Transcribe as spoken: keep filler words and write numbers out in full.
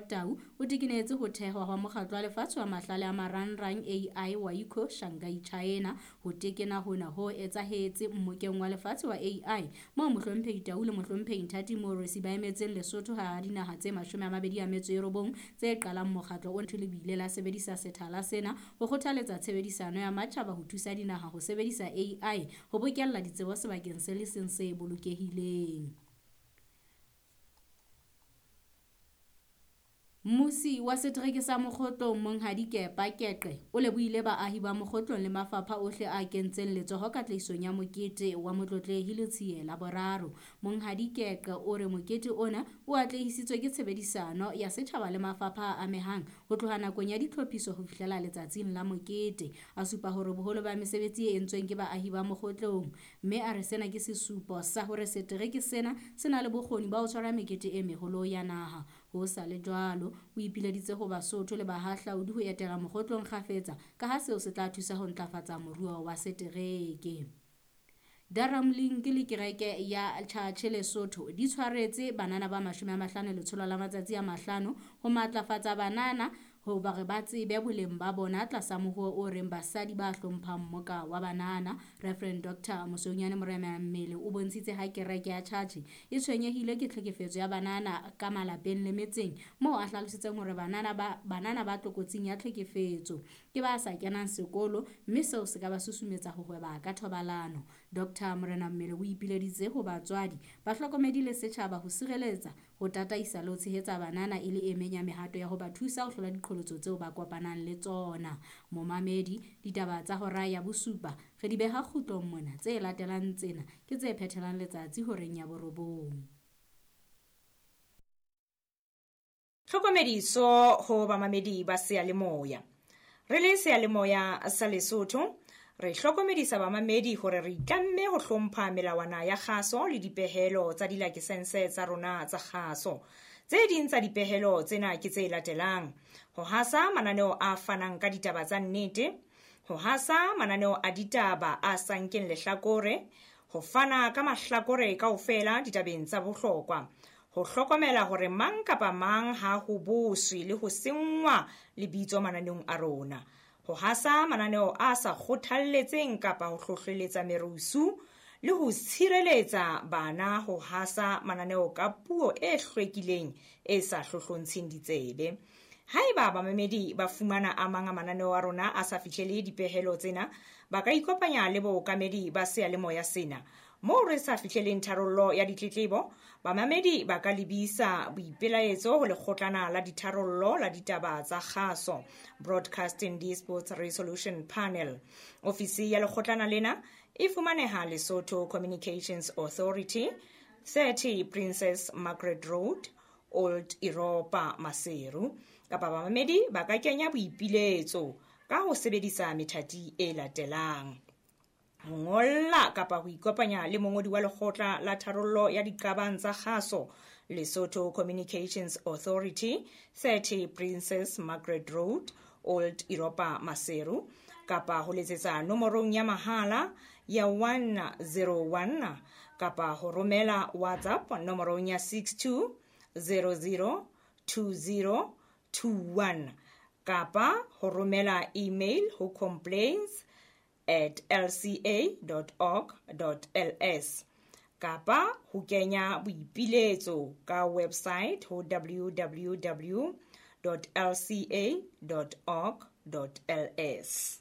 Tau o tekenetse ho thehwa hwa Mokgatlo wa Lefatshe wa Mahlale a Marangrang A I wa I C O Shanghai, China. Ho tekena hona ho etsahetse Mmokeng wa Lefatshe wa A I moo Mohlomphehi Tau le Mohlomphehi Nthati Moorosi ba emetseng Lesotho hara dinaha tse mashome a mabedi a metso e robong tse qalang mokgatlo ona. Le bile la sebedisa sethala sena ho kgothaletsa tshebedisano ya matjhaba ho thusa dinaha ho sebedisa A I ho bokella ditsebo sebakeng se le seng se bolokehileng. Mmusi wa setereke sa Mokgotlong Monghadi Kepa Keqe o lebohile baahi ba Mokgotlong le mafapha ohle a kentseng letsoho katlehisong ya mokete wa Motlotlehi Letsie la boraro. Monghadi Keqe o re mokete ona o atlehisitswe ke tshebedisano ya setjhaba le mafapha a amehang ho tloha nakong ya ditlhophiso ho fihlela letsatsing la mokete. A supa hore boholo ba mesebetsi e entsweng ke baahi ba Mokgotlong, mme a re sena ke sesupo sa hore setereke sena se na le bokgoni ba ho tshwara mekete e meholo ya naha. Ho sa le jwalo, o ipileditse ho Basotho le bahahlaudi ho etela Mokgotlong kgafetsa ka ha seo se tla thusa ho ntlafatsa moruo wa setereke. Daramlink le kereke ya Tjhatjhe Lesotho di tshwaretse banana ba mashome a mahlano letsholo la matsatsi a mahlano ho matlafatsa banana ho ba re ba tsebe boleng ba bona tlasa moruo o reng basadi ba hlomphang mmoka wa banana. Reverend Doctor Mosonyane Morena Mmele o bontshitse ha kereke ya Tjhatjhe e tshwenyehile ke tlhekefetso ya banana ka malapeng le metseng, moo a hlalositseng hore banana ba banana ba tlokotsing ya tlhekefetso ke ba sa kenang sekolo, mme seo se ka ba susumetsa ho hweba ka thobalano. Doctor Morena Mmele o ipileditse ho batswadi, bahlokomedi le setjhaba ho sireletsa, ho tataisa le ho tshehetsa banana e le e meng ya mehato ya ho ba thusa ho hlola diqholotso tseo ba kopanang le tsona. Momamedi, ditaba tsa hora ya bosupa re di beha kgutlong mona, tse latelang tsena ke tse phethelang letsatsi horeng ya borobong. Tlhokomediso ho bamamedi ba seyalemoya. Re le seyalemoya sa Lesotho, re hlokomedisa bamamedi hore re itlamme ho hlompha melawana ya kgaso le dipehelo tsa dilakesense tsa rona tsa kgaso. Tse ding tsa dipehelo tsena ke tse latelang: ho hasa mananeo a fanang ka ditaba tsa nnete, ho hasa mananeo a ditaba a sa nkeng lehlakore, ho fana ka mahlakore kaofela ditabeng tsa bohlokwa, ho hlokomela hore mang kapa mang ha ho boswe le ho senngwa lebitso mananeong a rona, ho hasa mananeo a sa kgothalletseng kapa ho hlohleletsa merusu, le ho tshireletsa bana ho hasa mananeo ka puo e hlwekileng e sa hlohlontsheng ditsebe. Haeba bamamedi ba fumana a mang a mananeo a rona a sa fihlele dipehelo tsena, ba ka ikopanya le bookamedi ba seyalemoya sena. Moo re sa fihleleng tharollo ya ditletlebo, bamamedi ba ka lebisa boipelaetso ho lekgotlana la ditharollo la ditaba tsa kgaso, Broadcasting Disputes Resolution Panel. Ofisi ya lekgotlana lena e fumaneha Lesotho Communications Authority, thirty Princess Margaret Road, Old Europa, Maseru. Kapa bamamedi ba ka kenya boipiletso ka ho sebedisa methati e latelang: ho ngolla kapa ho ikopanya le mongodi wa lekgotla la tharollo ya diqabang tsa kgaso, Lesotho Communications Authority, thirty Princess Margaret Road, Old Europa, Maseru, kapa ho letsetsa nomorong ya mahala ya one zero one, kapa ho romela WhatsApp nomorong ya six two zero zero two zero two one, kapa ho romela email ho complaints at l c a dot org dot l s, kapa ho kenya boipiletso ka website ho w w w dot l c a dot org dot l s.